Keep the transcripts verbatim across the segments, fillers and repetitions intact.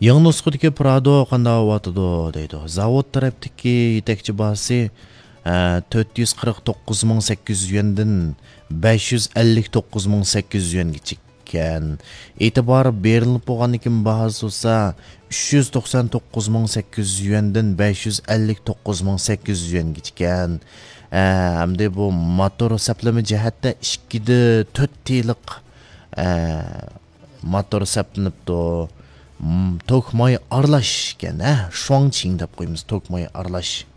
يېڭى نۇسخىدىكى پرادو قانداق بولۇۋاتىدۇ دەيدۇ. زاۋۇت تەرەپتىكى يېتەكچى باھاسى، ئە، تۆت يۈز قىرىق توققۇز مىڭ سەككىز يۈز يۈەندىن بەش يۈز ئەللىك توققۇز مىڭ سەككىز يۈز يۈەنگىچە ئىكەن. ئېتىبار بېرىلىپ بولغاندىن كېيىن باھاسى بولسا، ئۈچ يۈز توقسان توققۇز مىڭ سەككىز يۈز يۈەندىن بەش يۈز ئەللىك توققۇز مىڭ سەككىز يۈز يۈەنگىچە ئىكەن. ئە، ئەمدى بۇ موتور سەپلىمە جەھەتتە ئىككىدە تۆت تىلىق، ئە، موتور سەپلىنىپتۇ. م، توك ماي ئارىلاش ئىكەن، ھە؟ شۇاڭچىڭ دەپ قويىمىز، توك ماي ئارىلاش.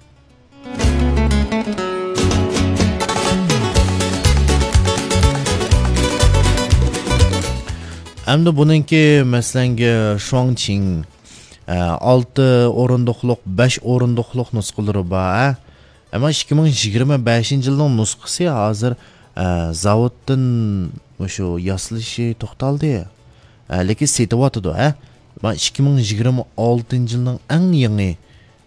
ئەمدى بۇنىڭكى، مەسىلەنگە، شۇاڭچىڭ، ئە، ئالتە ئورۇندۇقلۇق، بەش ئورۇندۇقلۇق نۇسخىلىرى بار، ھە؟ ئەمما ئىككى مىڭ يىگىرمە بەشىنچى يىلنىڭ نۇسخىسى ھازىر، ئە، زاۋۇتتىن مۇشۇ ياسىلىشى توختالدى. ئە، لېكىن سېتىۋاتىدۇ، ھە؟ مانا ئىككى مىڭ يىگىرمە ئالتىنچى يىلنىڭ ئەڭ يېڭى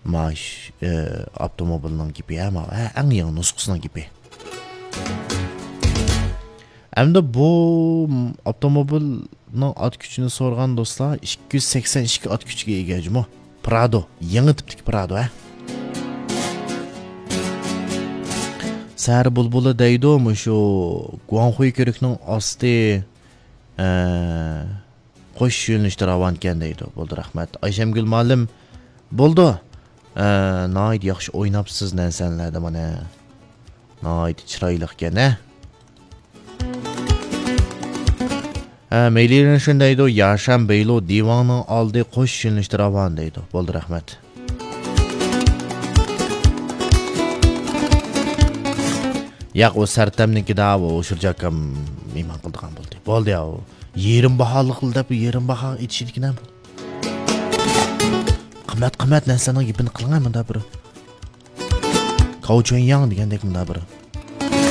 ماش، ئە، ئاپتوموبىلنىڭ گېپى، ھە، ماۋۇ، ھە، ئەڭ يېڭى نۇسخىسىنىڭ گېپى. ئەمدى بۇ ئاپتوموبىلنىڭ ئات كۈچىنى سورىغان دوستلار، ئىككى يۈز سەكسەن ئىككى ئات كۈچىگە ئىگە جۇمۇ. پرادو، يېڭى تىپتىكى پرادو، ھە. سەھەر بۇلبۇلى دەيدۇ، مۇشۇ گۇاڭخۇي كۆۋرۈكنىڭ ئاستى، ئە، قوش يۆنىلىشتە راۋانكەن دەيدۇ. بولدى، رەھمەت. ئايشەمگۈل مۇئەللىم، بولدى. ئە، ناھايىتى ياخشى ئويناپسىز نەرسەنلەردە مانا. ناھايىتى چىرايلىقكەن، ھە. ھە، مەيلى شۇنى دەيدۇ، ياشان بەيلۇ دىۋاڭنىڭ ئالدى قوش يۆنىلىشتە راۋان دەيدۇ. بولدى، رەھمەت. ياق، ئۇ سەرتەمنىڭكىدە، ئۇ ئۇشۇرجاكام مېھمان قىلىدىغان بولدى. بولدى يا، ئۇ يېرىم باھالىق دەپ، يېرىم باھا ئېيتىشىدىكىن ھەم. قىممەت، قىممەت نەرسىلەرنىڭ گېپىنى قىلىڭ، مۇندا بىر كاۋچۈەنياڭ دېگەندەك، مۇندا بىر